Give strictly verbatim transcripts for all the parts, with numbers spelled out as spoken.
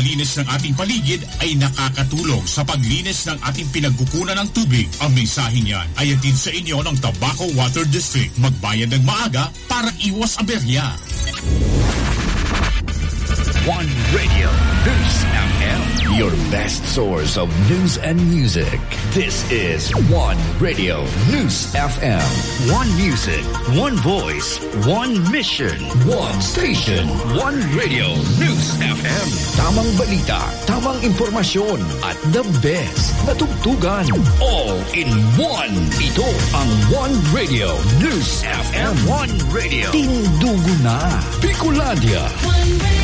Linis ng ating paligid ay nakakatulong sa paglinis ng ating pinagkukunan ng tubig. Ang mensaheng yan ay hatid sa inyo ng Tabaco Water District. Magbayad ng maaga para iwas aberya. One Radio News F M. Your best source of news and music. This is One Radio News F M. One music, one voice, one mission, one station, One Radio News F M. Tamang balita, tamang impormasyon, at the best na tugtugan. All in one. Ito ang One Radio News F M. One Radio. Tindugo na. Bicolandia. One Radio.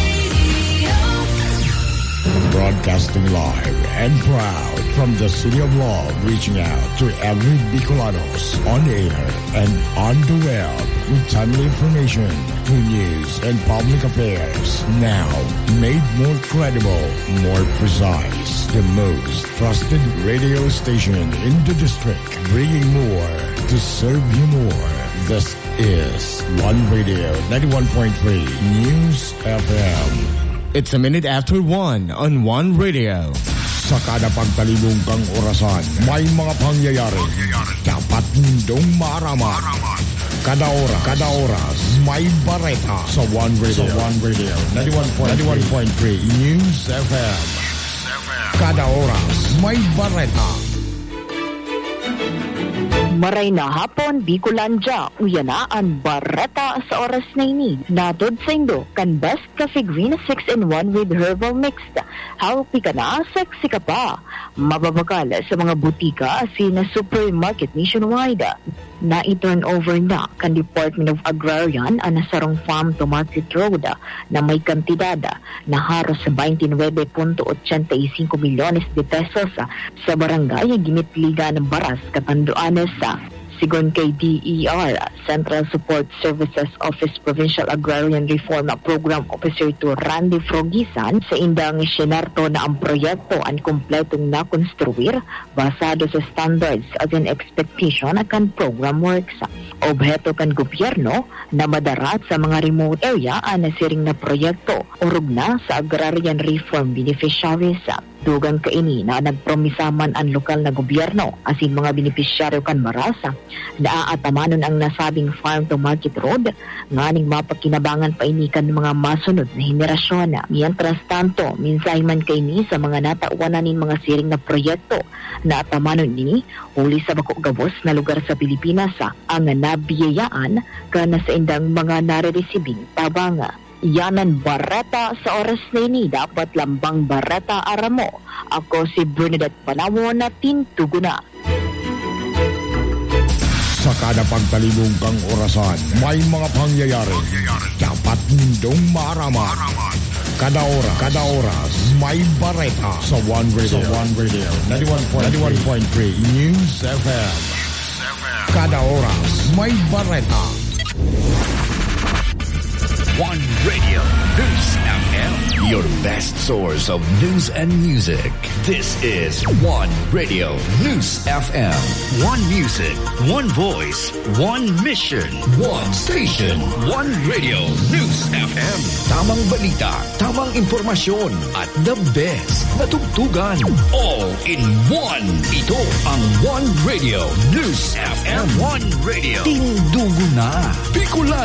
Broadcasting live and proud from the City of Love, reaching out to every Bicolanos on air and on the web with timely information, true news, and public affairs. Now, made more credible, more precise, the most trusted radio station in the district, bringing more to serve you more. This is One Radio ninety-one point three News F M. It's a minute after one on One Radio. Sa kada pagtalibong kang orasan, may mga pangyayari dapat nindong maaraman. Kada oras, kada oras, may bareta sa One Radio. Sa One Radio, ninety-one point three News F M. Kada oras, may bareta. Maray na hapon, Bicolandia. Uya na an bareta sa oras na ini. Nahatod saindo kan Best Cafe Green six-in-one with Herbal Mix. Healthy ka na, sexy ka pa. Mababakal sa mga butika asin supermarket nationwide. Nai-turnover na kan Department of Agrarian an sarong farm to market road na may kantidad na haros twenty-nine point eight five milyones de pesos sa barangay Gimitligan, Baras, Catanduanes. Sigon kay D E R, Central Support Services Office Provincial Agrarian Reform Program Officer two Randy Frogisan, saindang isinarto na ang proyekto an kumpletong nakonstruir basado sa standards asin expectation kan program works. Obheto kan gobyerno na madara sa mga remote area an siring na proyekto, orog na sa agrarian reform beneficiaries. Dugang kaini na nagpromisa man an lokal na gobyerno asin mga benepisyaryo kan Baras na aatamanon ang nasabing farm to market road nganing mapakinabangan pa ini kan mga masunod na henerasyon. Mientras tanto, mensahe man kaini sa mga natawan na nin mga siring na proyekto na atamanon ini huli sa bako gabos na lugar sa Pilipinas ang nabiyayaan kan saindang mga nareresibing tabang. Yan an bareta sa oras na ini. Dapat lambang bareta, aram mo. Ako si Bernadette Panawon na tintugo na. Sa kada pagtalibong kang orasan, may mga pangyayari dapat nindong maaraman. Kada oras, kada oras, may bareta sa One Radio. Sa One Radio, ninety-one point three News F M. Kada oras, may bareta. One Radio News F M. Your best source of news and music. This is One Radio News F M. One music, one voice, one mission, one station, One Radio News F M. Tamang balita, tamang impormasyon, at the best na tugtugan. All in one. Ito ang One Radio News F M. One Radio. Tindugo na. Bicolandia.